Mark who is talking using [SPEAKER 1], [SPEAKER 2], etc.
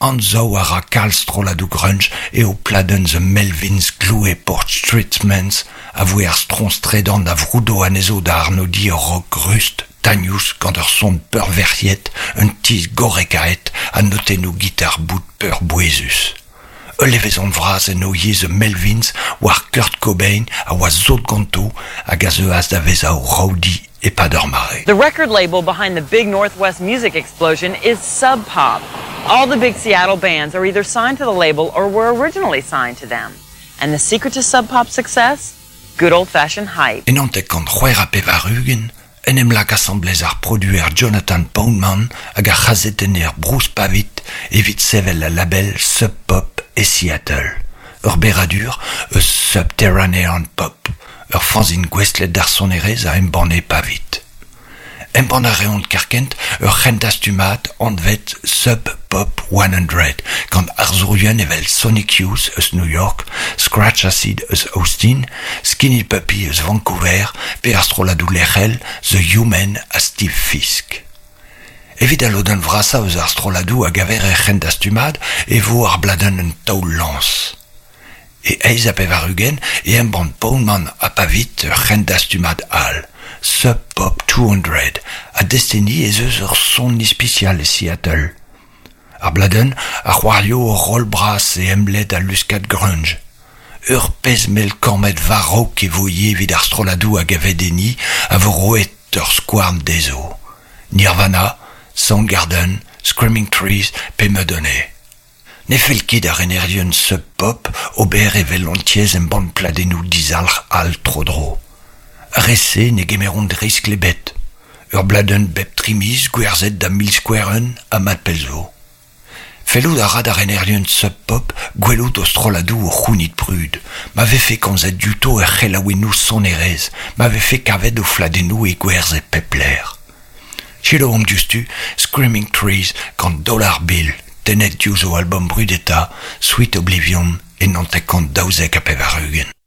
[SPEAKER 1] Anzav a ra kalz strolladoù grunge eo pladenn The Melvins Gloue Port Streetmans a voe ar stroñs tredan a vroudo anezho da arnodiñ ur rock rust, tagnous gant ur son peurvec'hiet, un tizh gorrekaet ha notennoù gitar boud peurbouezus. Ul levezon vras en o yezh The Melvins war Kurt Cobain a oa sot ganto hag a zeuas da vezañ o rowdy e-pad ur mare.
[SPEAKER 2] The record label behind the big Northwest music explosion is Sub Pop. All the big Seattle bands are either signed to the label or were originally signed to them. And the secret to Sub Pop's success? Good old-fashioned hype.
[SPEAKER 1] E 1996 en em lak asambles ar produer Jonathan Poundman hag ar c'hazetenner Bruce Pavitt evit sevel al label Sub Pop e Seattle. Ur berradur eus Subterranean Pop, ur fanzine gouestlet d'ar sonerezh a embanne Pavitt. Embann a reont kerkent ur c'hendastumad anvet Sub Pop 100 gant arzourien evel Sonic Youth eus New York, Scratch Acid eus Austin, Skinny Puppy eus Vancouver pe ar strolladoù lec'hel The Human ha Steve Fisk. Evit al lodenn vrasañ eus ar strolladoù a gaver er c'hendastumad e vo ar bladenn un taol-lañs. E 88 e embann Poundman ha Pavitt ur c'hendastumad all, Sub Pop 200, ha desteni ez eus ur son ispisial e Seattle. Ar bladenn a c'hoario ur roll bras e emled al luskad grunge. Ur pezh mell kammed war-raok e vo ivez evit ar strolladoù a gaved enni a vo roet ur skouarn dezho. Nirvana, Soundgarden, Screaming Trees pe Mudhoney. Ne fell ket d'ar renerien Sub Pop ober evel an tiez embann pladennoù dizalc'h all tro-dro. Ar re-se ne gemeront riskl ebet. Ur bladenn bep tri miz gwerzhet da milskouer-un ha mat pell zo. Fellout a ra da renerien Sub Pop gwelout o strolladoù o c'hounit brud, ma vefe komzet diouto er c'helaouennoù sonerezh, ma vefe kavet o fladennoù e gwerzh e pep lec'h. Selaouomp diouzhtu Screaming Trees gant Dollar Bill, tennet diouzh o albom brudetañ, Sweet Oblivion, e 1992.